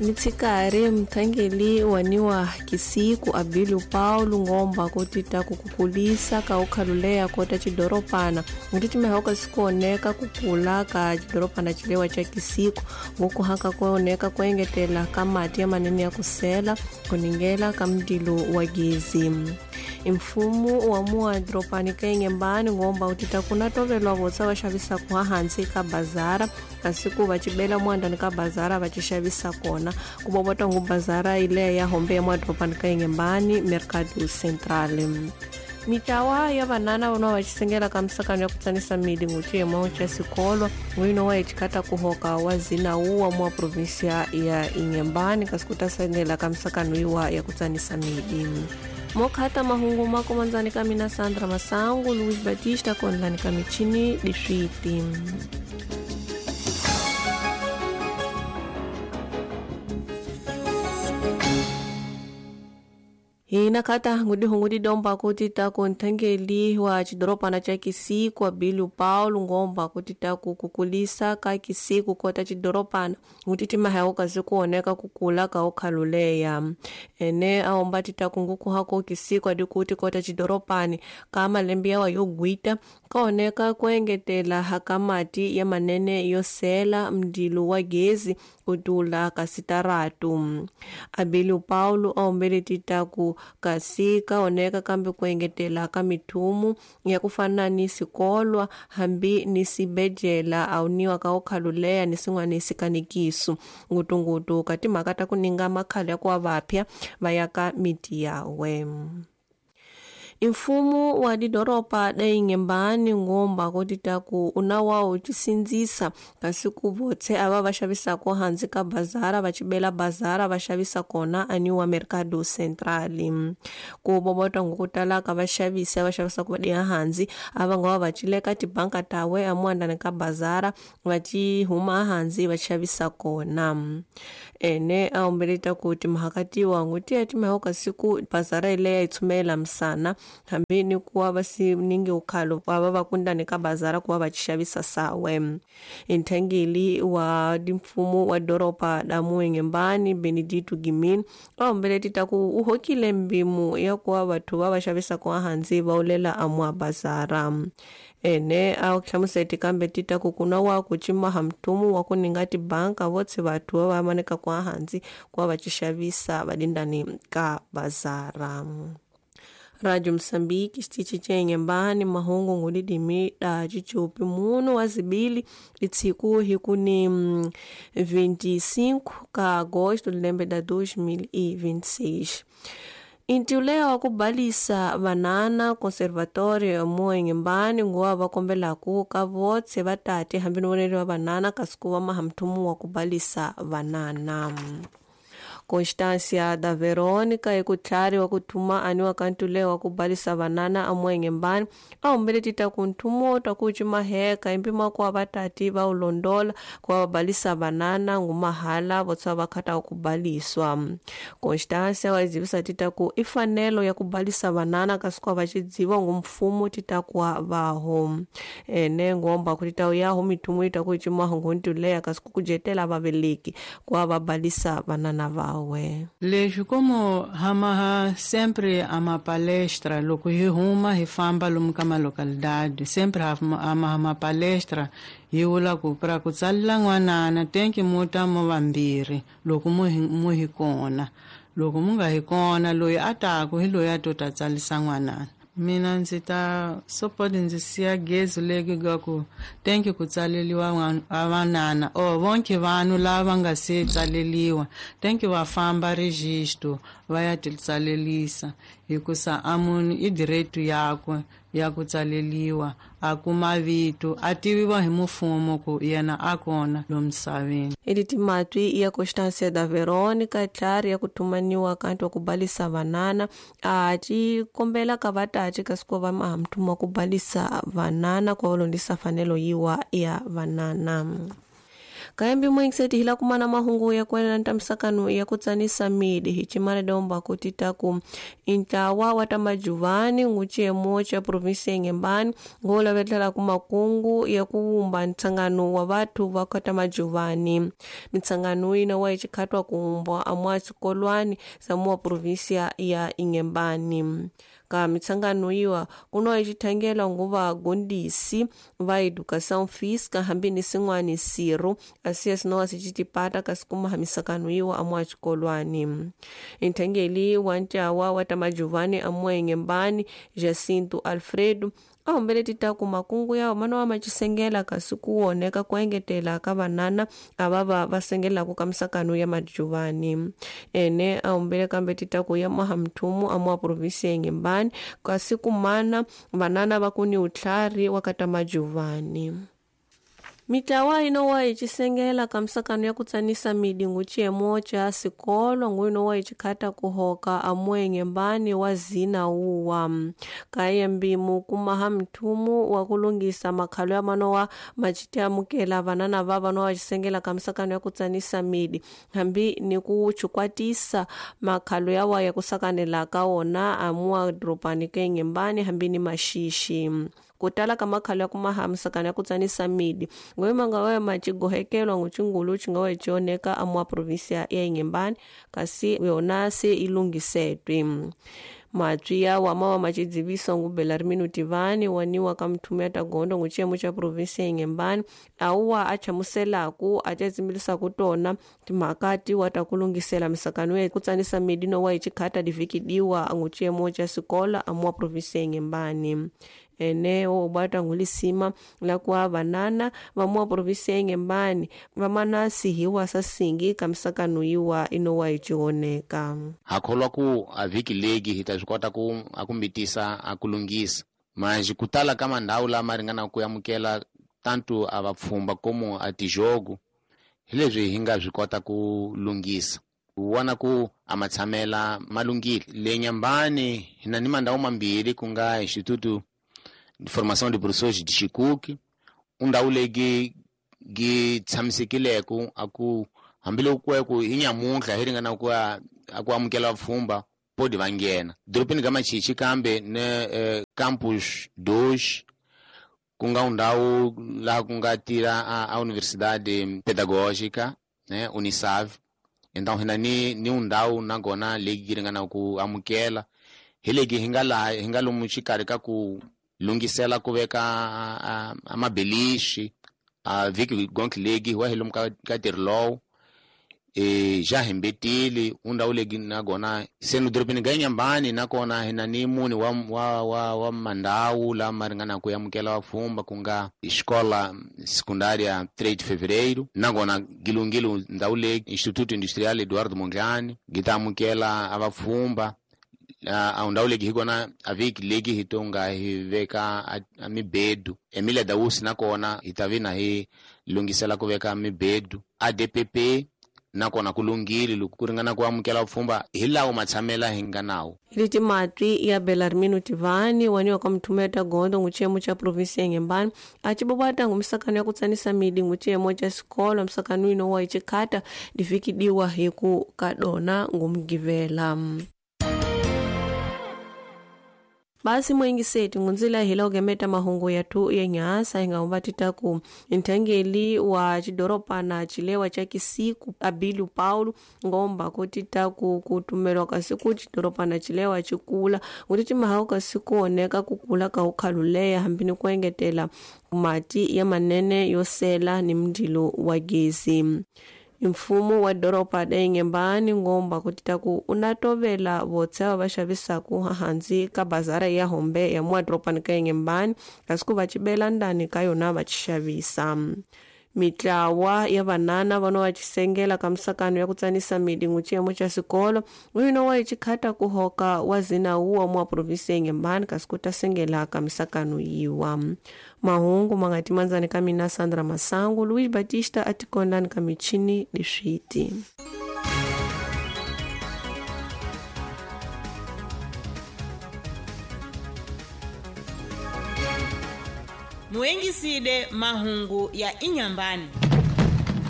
Mitshikari mthangeli waniwa Kisiku Abilio Paulo ngomba kutita kukukulisa ka ukhaluleya kota chidoropana nguti cimehoka sikuoneka kukula ka chidoropana chilewa cha Kisiku ngukuhaka kuoneka kuengetela ka mati ya manene ya kusela kuningela ka mdilo wa gezi. Mfumo wa mua doropani ka Inhambane ngomba utita kuna tovelwa votsa va xavisa ku hansi ka bazara kasi ku va cibela muandani ka bazara va xavisa kona ku bobota ngu bazara ile ya hombe ya mua doropani ka Inhambane Mercado Central. Mitawa ya vanana vona va xisengela ka misakano ya ku tsanisa mili nguciyemo xa sikolo n'wino wa echikata kuhoka wa zinawu wa mua provinsia ya Inhambane kasi ku ta sengela ka misakano yiwa ya ku tsanisa mili. Mokhata mahungu makomandzani ka mina Sandra Masangu, Luis Batista konlani ka michini diswiti. Hina kata ngudi hungudi domba kutita kunthengeli wa chidoropana cha Kisiku Abilio Paulo ngomba kutita kukukulisa ka Kisiku kota chidoropana ngutiti mahewu kasi kuoneka kukula ka ukhaluleya ene aomba tita kunguku hako Kisiku adikuti kota chidoropani ka malembe yawa yogwita kaoneka kuengetela hakamati ya manene yosela mdilu wa gezi kutula kasitaratu. Abilio Paulo aombele tita ku kasi kaoneka kambe kuengetela ka mithumu ya kufana ni sikolwa hambi ni sibejela auniwa ka ukhaluleya ni sin'wana sikanikisu ngutungutu ka timhaka ta ku ninga makhale ya kuwa vapya va ya ka miti yawe. Mfumo wa didoropa da Inhambane ngomba kutita ku unawa uchisinzisa kasi ku votse ava va xavisako hansi ka bazara va cibela bazara va xavisa kona aniwa Mercado Central. Ku bobota ngukutala ka vaxavisi va xavisako va diya hansi ava nga va cileka tibanka tawe amuandani ka bazara va ci huma hansi va xavisa kona. Ene aombeleta ku timhaka tiwa ngutiya timaho kasi ku bazara ileya yi tshumela misana hambi ni kuwa va si ningi ukhalo va va kundani ka bazara kuva va xavisa sawe. Nthangeli wa mfumo wa doropa da Inhambane Benedito Gimin aombele tita ku u hokile mbimu ya kuwa vathu va va xavisa ku hansi va ulela amwa bazara. Ene a hlamuseti kambe tita ku kuna wa ku cimaha mthumu wa ku ninga tibanka votse vathu va va maneka ku hansi kuva va xavisa va dindani ka bazara. Radio Msambiki xitichi cha Inhambane mahungu ngudidimi da chichupi muno wa zibili litsiku hiku ni 25 ka agosto lembe da 2026. Intiuleya wa kubalisa vanana conservatorio mo Inhambane nguwa va kombelaku ka votse va tate hambi ni voneri wa vanana kasi ku va maha mthumu wa kubalisa vanana. Constância da Verônica ekutlhari wa kuthuma aniwa ka ntule wa kubalisa vanana amu Inhambane ahumbele tita ku nthumo ta ku cimaheka impima kuwa vatati va ulondola kuva va balisa vanana ngumahala votsa va khata kubaliswa. Constância wa zivisa tita ku i fanelo ya kubalisa vanana kasi kuwa va cidziwa ngu mfumo tita kuwa vaho ene ngomba ku tita yaho mithumo ita ku cimaho ngu ntuleya kasi ku kujetela vaveleki kuva va balisa vanana va. Leswi como hamaha sempre a uma palestra loko hi huma hi famba lomu ka malocalidade sempre hamaha ma palestra hi vula ku pra ku tsalela n'wanana tenki mu ta mo vambirhi loko mu hi kona loko mu nga hi kona loyi a taku hi loyi a to ta tsalisa n'wanana. Mina ndzi ta support ndzi siya gezi leki ga ku tenki ku tsaleliwa vanana or vonke vanhu lava nga se tsaleliwa tenki va famba registro va ya ti tsalelisa hikusa a munhu i direito yakwe ya ku tsaleliwa a kuma vito a tiviwa hi mfumo ku yena a kona lo misaveni. Editi matwi ya Constância da Verônica tlhari ya kuthumaniwa kanti wa kubalisa vanana a ci kombela ka vatati kasi ku va maha mthumo wa kubalisa vanana ku va londisa fanelo yiwa ya vanana. Kayambi mwengiseti hila kumana mahungu ya kuenela ntamisakanu ya kutsanisa midi hichimana domba kutitaku intawa watamajuvani nguchemo cha provinsi ya Inhambane ngolavetela kumakungu ya kuwumba ntsangano wa vathu va katamajuvani. Mitsangano ina wa ichikhatwa kuumbwa amwa tsikolwani za muwa provinsia ya Inhambane. Ka mitsangano iwa kuno ichithangela nguva gondisi va educação física hambi ni sin'wani siro asiya sinowa sicitipata kasi kumaha misakano iwa amwa xikolwani. Nthangeli wa ntlawa wa tamajuvani amwa Inhambane Jacinto Alfredo ahombele titaku makungu yawo mana wa macisengela kasi kuwoneka kuengetela ka vanana ava va sengelaku ka misakano ya majuvani. Ene ahombele kambe titaku ya maha mthumu amwa provinsi ya Inhambane kasi kumana vanana va kuni utlhari wa kata majuvani. Mitlawa inowa icisengela ka misakano ya kutsanisa midi nguciyemo ca sikolo nguinowa icikhata kuhoka amwe Inhambane wa zina uwa. Kaya mbimu kumaha mthumu wa kulungisa makhalo ya manowa macitiamukela vanana va vanowa cisengela ka misakano ya kutsanisa midi hambi ni kuchukwatisa makhalo yawa ya kusakanela ka wona amuwa doropani ka Inhambane hambi ni maxixi. Kutala ka makhalo ya kumaha misakano ya kutsanisa midi ngoima nga wa macigohekelwa ngucingulu cinga cioneka amwa provinsia ya Inhambane kasi yona se ilungisetwe. Matwi yawa mawa macidziviso ngu Belarmino Tivani waniwa ka mthumu ya tagondo nguciyemo ca provinsia ya Inhambane auwa achamuselaku acazimbilisaku tona timhaka tiwa ta kulungisela misakano ya kutsanisa midi nowa icikhata divikidiwa nguciyemo ca sikola amuwa provinsia ya Inhambane. Ene obwata ngulisima la kuwa vanana vamua provinsia ya Inhambane vamana sihiwa sasingi ka misakano iwa inowa icioneka. Hakholwa ku a vhiki legi hi ta swi kota ku akumbitisa akulungisa mas kutala ka mandhawu lama ringana ku amukela tanto a vapfhumba como a tijogo hi leswi hi nga swi kota ku lunghisa vona ku a matshamela malunghile. Le Inhambane hi na ni mandhawu mambirhi ku nga Instituto de Formação de Professores de Chicuque, undhawu leyi gi tshamisekileko a ku hambiloko ku hi nyamuntlha hi ringana ku a ku amukela vapfhumba podi va nghena doropeni ka Machichi kambe ne campus 2 ku nga undhawu laha ku nga tira a Universidade Pedagógica, né, Unisav. Então hina ni undhawu nakona leyi yi ringana ku amukela hi legi hi nga laha hi nga lomu xikarhi ka ku lungisela ku veka a mabelixi a vhiki gonke legi wa hi lomu ka ntirho lowu ja hembetile undhawu legi nakona se no doropeni ga Inhambane nakona hi na ni muni wa mandhawu lama ringana ku amukela vapfhumba ku nga xikola secundária 3 de fevereiro nakona gilungile ndhawu legi Instituto Industrial Eduardo Mondlane gi ta amukela a vapfhumba. A ndhawu legi hi kona a vhiki legi hi tonga hi veka a mibedu Emilia Dausi nakona hi ta vi na hi lunghisela ku veka mibedu ADPP nakona ku lunghile loko ku ringana ku amukela vupfhumba hi lawo matshamela hi nga nawo. Leti matwi ya Belarmino Tivani waniwa ka mthumu ya tagondo nguciyemo ca provinsia ya Inhambane acibobwata ngumisakano ya kutsanisa midi nguciyemo ca sikolo misakano ino wa icikhata divikidiwa hi ku kadona ngumgivela. Basi mwengiseti ngunzila hila ugemeta mahungu yathu ya nyasa inga titaku nthangeli wa chidoropa na chilewa cha Kisiku Abilio Paulo ngomba kutitaku kutumelwa kasiku chidoropa na chilewa chikula kuti chimahawu kasiku oneka kukula ka ukhaluleya hambini kuengetela mati ya manene yosela ni mndilo wa gezi. Mfumo wa doropa da Inhambane ngomba kutitaku unatovela votse ava va xavisaku hansi ka bazara ya hombe ya muwa doropani ka Inhambane kasi ku va cibela ndani ka yona va ci xavisa. Mitlawa ya vanana vano va cisengela ka misakano ya kutsanisa midi nguciyemo ca sikolo uyino wa icikhata kuhoka wa zina uwa muwa provinsi ya Inhambane kasi ku ta sengela ka misakano yiwa. Mahungu mangati manzani ka mina Sandra Masangu, Luiz Batista atikondani ka michini diswiti. Muengiside mahungu ya Inhambane.